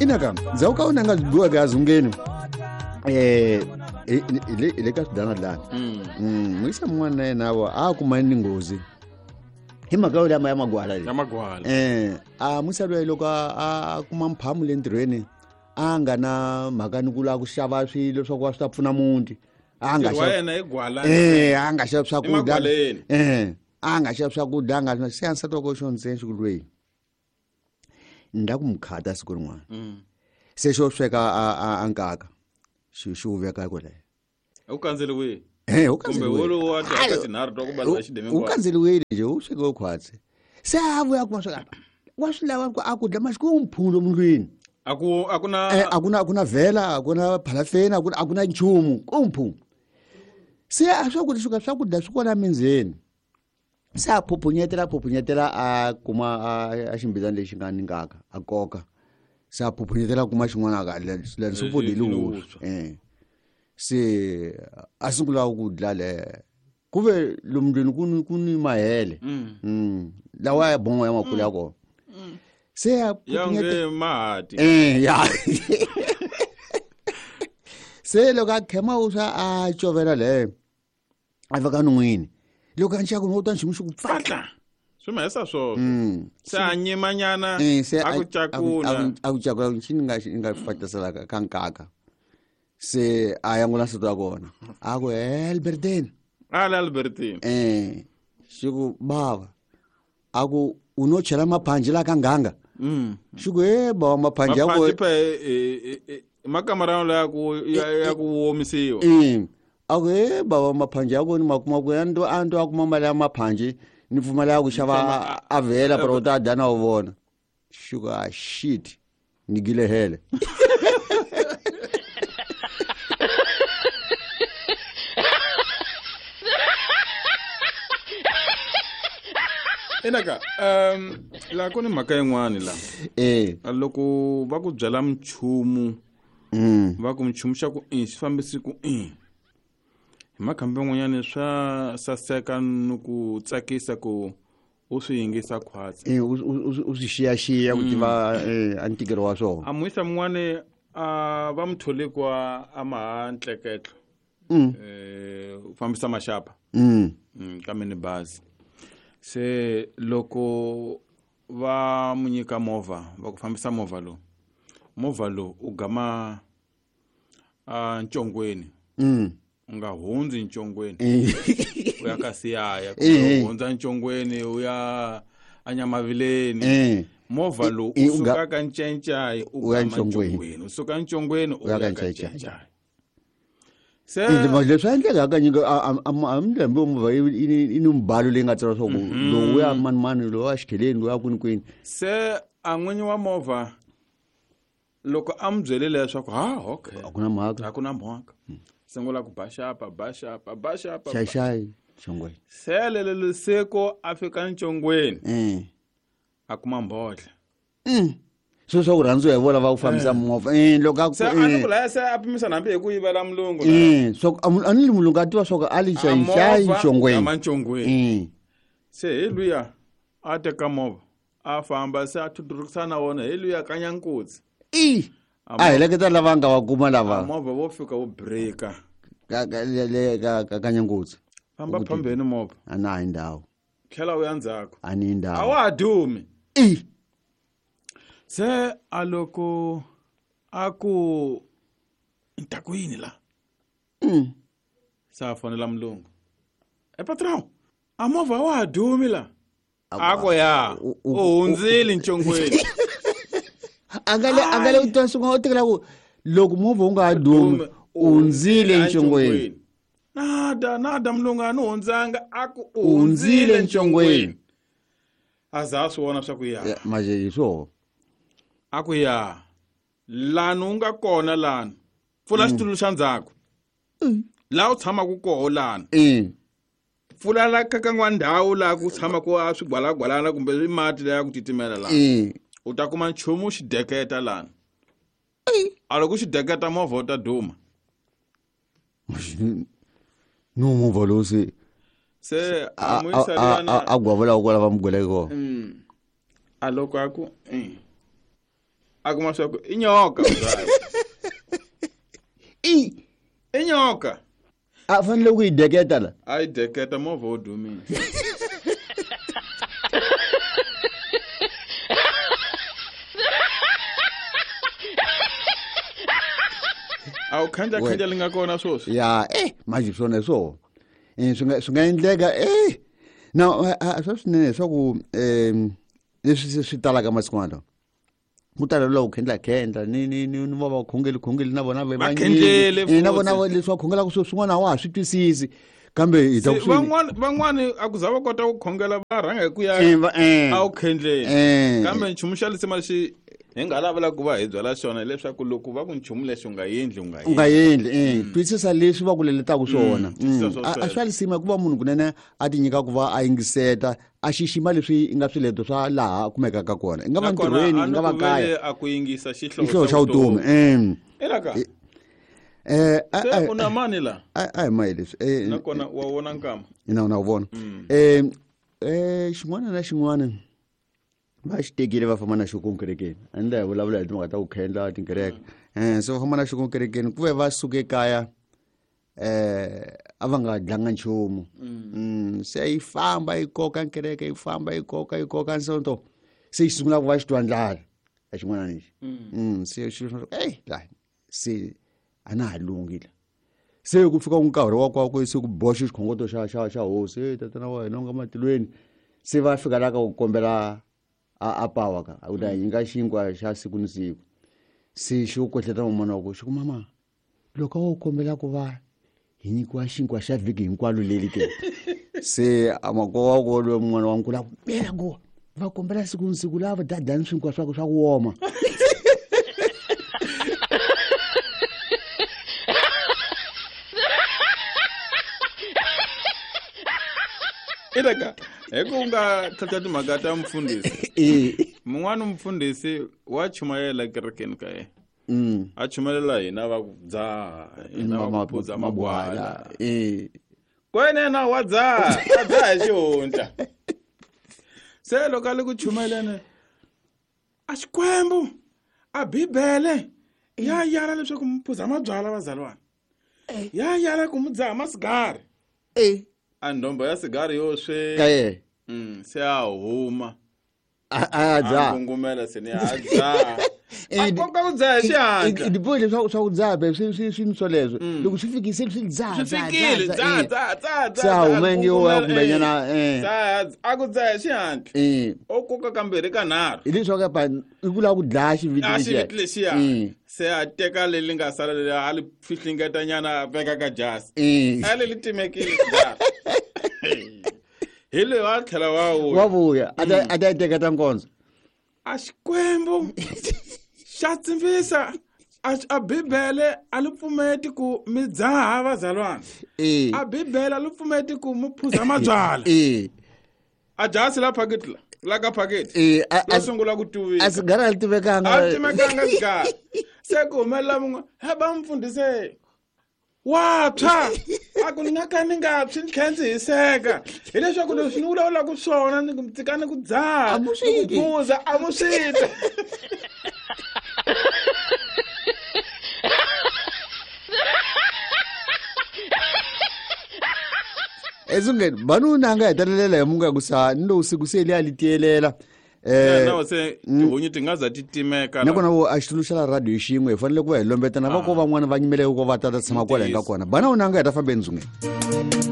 Inaka ndzhaku ka wena nga biweke azungeni hi le ka swidanadlana. Muyisa mun'wana na yena wa a kumani ni nghozi hi mhaka yo lama ya magwala ya magwala. A musa loyi loko a kuma mphamu le ntirhweni a nga na mhaka ni ku lava ku xava swilo swa ku va swi ta pfuna muti. A nga xava yena hi gwala. A nga xava swakudya. A nga xava swakudya nga se ansati wa ko xo ntsena xi ku lweyi. Ni la ku mukhata siku rin'wana. Se xo sweka a nkaka xi wu veka kwalaho. U kandzeliwile? U kandzeliwile nje u sweke u khwatsi. Se a vuya kuma sweka wa swi lava ku a ku dla masiku u mphulo mundlwini. A ku a ku na a ku na a ku na vhela, a ku na phalafeni, a ku na nchumu, ku mphu. Se a swakudya swi swakudya swi kona mindzeni. Se a phuphunyetela a kuma a ximbizana lexi nga ni nkaka a koka. Se a phuphunyetela kuma xin'wana ka le swi pfudeli wuswa. Se a sungula ku dla le ku ve lomndlwini ku ni mahele. Lawa ya bongo ya makulu ya kona. Se a phuphunyetela mahati. Ya. Se loko a khema uswa a covela le a veka non'wini. Loko a nxaka no ta nchumu xi ku pfatla. Swi mahisa swona. Se a nyimanyana a ku cakula. A ku cakula xi nga nga fatlasela ka nkaka. Se a yangula nsati wa kona. A ku Albertine. Ala Albertine. Xi ku bava. A ku u no chela maphanji la ka nganga. Xi ku bava maphanji ya ku makamara ya ku ya ku omisiwa. A ku bava maphanji ya ku ni makuma ku a ndo a kuma mali ya maphanji ni pfumala ku xava a vhela pero u ta dya na u vona. Xi ku a shit ni gile hele. Inaka la ku ni mhaka yin'wani la. Loko va ku byela mchumu va ku mchumu xa ku i xi fambisi ku i. Hi makhambi man'wanyana swa saseka ni ku tsakisa ku u swi yingisa khwatsi. U swi xiyaxiya ku tiva a ntikelo wa swona. A muyisa mun'wani a va mutholi kwa a maha ntleketlo. U fambisa maxapa. Ka minibazi. Se loko va mu nyika movha va ku fambisa movha lowu. Movha lowu u gama a ncongweni. U nga hundzi ncongweni. U ya ka Siyaya, u hundza ncongweni u ya anyamavileni. Movha lowu u suka ka Ncencai u ya ncongweni. U suka ncongweni u ya ka Ncencai. Se leswi endleka hakanyingi a mlembe movha i ni mbalo leyi nga tsariwa swa ku lowu ya mani mani lowu ya xikheleni lowu ya kwini kwini. Se a n'winyi wa movha loko a mu byele leswaku ha okay a ku na mhaka a ku na mhaka sungula ku baxapa baxapa baxapa xaxai ncongweni. Se lelo seko a fika ncongweni a kuma mbodla. Swo swa ku rhandziwa hi vona va ku fambisa movha. Loko a se a ni ku laya se a pimisa hambi hi ku yivela mulungu. So a ni mulungu a tiva swa ku a li xaxai ncongweni. Ama ncongweni. Se hi luya a teka movha a famba se a thuthurukisana na wona hi luya kanyankutsi. A heleketa lava nga va kuma lava. Movha wo fika wo breaka. Ka ka kanyankutsi. Famba phambeni movha. A na hi ndhawu. Tlhela u ya ndzhaku. A ni ndhawu. A wa ha dumi. Se a loko a ku ni ta ku yini la. Se a fonela mulungu. Patron, a movha wa ha dumi la. A ku ya u hundzile ncongweni. A nga le u twa swin'wana u tekela ku loko movha wu nga ha dumi u hundzile ncongweni. Nada mulungu a ni hundzanga a ku u hundzile ncongweni. A za a swi vona swa ku ya. Manje hi swona. A ku ya lani u nga kona lani pfula xitulu xa ndzhaku. Laha u tshamaka koho lani. Pfula la ka kan'wa ndhawu laha ku tshamaka a swigwalagwalana kumbe swi mati laya ku titimela laha. U ta kuma nchumu xi deketa lani. A loko xi deketa movha u ta duma. No movha lowu se Se a muyisa luyana a gwavula ku lava mugweleke kona. A loko a ku A kuma swa ku i nyoka. I nyoka. A fanele ku yi deketa la. A yi deketa movha wo dumile. A wu khandla khandla li nga kona swoswi. Ya, manje swona hi swona. Swi nga endleka na swa swinene leswaku leswi swi talaka masiku lawa. Ku tala lowu khendla khendla ni ni ni ni va va khongeli khongeli na vona va khendlele na vona leswi va khongelaka swilo swin'wana a wa ha swi twisisi kambe hi ta ku van'wana a ku za va kota ku khongela va rhanga hi ku ya a wu khendleni kambe nchumu xa lisima lexi hi nga lavela ku va hi byala xona hileswaku loko va ku nchumu lexi u nga endli u nga endli twisisa leswi va ku leletaka swona a swa lisima hikuva munhu kunene a ti nyika ku va a yingiseta a xixima leswi nga swileto swa laha kumekaka kona i nga va ntirhweni i nga va kaya a ku yingisa xihlovo xa vutomi elaka se u na mani la a hi mayi leswi nakona wa vona nkama ina na wu vona xin'wana na xin'wana va xi tekile va famba na xo konkerekeni a ni la hi vulavula hi timhaka ta ku khendla tinkereke se va famba na xo konkerekeni ku ve va suke kaya a va nga dlanga nchumu se yi famba yi koka nkereke yi famba yi koka yi koka nsonto se yi sungula ku va xi twa ndlala a xin'wana lexi se xi la se a na ha lunghile se ku fika nkarhi wa kwakwe se ku boxa xikhongoto xa xa xa hosi tatana wa hina u nga matilweni se va fika la ka ku kombela a pawa ka u ta nyika xinkwa xa siku ni siku se xi kohleta mamana wa ku xi ku mama loko wo kombela ku va hi nyikiwa xinkwa xa vhiki hinkwalo leli ke se amakwa wa ko loyi mun'wana wa nkulu a ku mela ku va kombela siku ni siku lava dadani swinkwa swa ku swa ku woma ileka hi ku nga tlhatlha timhaka ta mfundhisi mun'wana mfundhisi wa chumayela kerekeni ka yena a chumelela hina va ku dzaha hina va ku phuza magwala kwenena wa dzaha a dzaha hi xihundla se loko a le ku chumeleni a Xikwembu a Bibele ya yala leswaku mi phuza mabyala vazalwana ya yala ku mi dzaha masigari a ndombo ya sigari yo swe se a huma a dzaha ngungumela se ni a dzaha a koka ku dzaha hi xihatla dipoyi leswaku swa ku dzaha be swi swi swi swoleswo loko swi fikile swi dzaha swi fikile dzaha dzaha dzaha se a huma nge wa kumbenyana a ku dzaha hi xihatla o koka kambirhi ka nharhu hileswaku pa i ku lava ku dlaya xiviti lexiya xiviti lexiya se a teka leri nga sala leri a li fihlingetanyana a veka ka jasi a leri timekile hi leyi a tlhela wa vuya wa vuya a ta yi teketa nkondzo a Xikwembu xa tsimbisa a Bibele a li pfumeti ku mi dzaha vazalwana a Bibele a li pfumeti ku mi phuza mabyala a jasi la phaketi la la ka phaketi la sungula ku tuvika a sigara a li tivekanga a li timekanga sigara se ku humelela mun'we he va mfundhise wa tshwa a ku ni nga ka ni nga tshwi ni tlhela ndzi hiseka hileswaku leswi ni vulavulaka swona ni tshikani ku dzaha ni ku phuza a mu swi twa esungeni vanuna a nga hetelela hi munga ku sa ni lowu siku se li a li tiyelela na se tihunyi ti nga za ti timeka nakona vo a xitulu xa la radio xin'we hi fanele ku va hi lombetana va ko van'wana va nyimeleke ku va ta ta tshama kwala hi nga kona bana una nga heta fambe ndzungeni.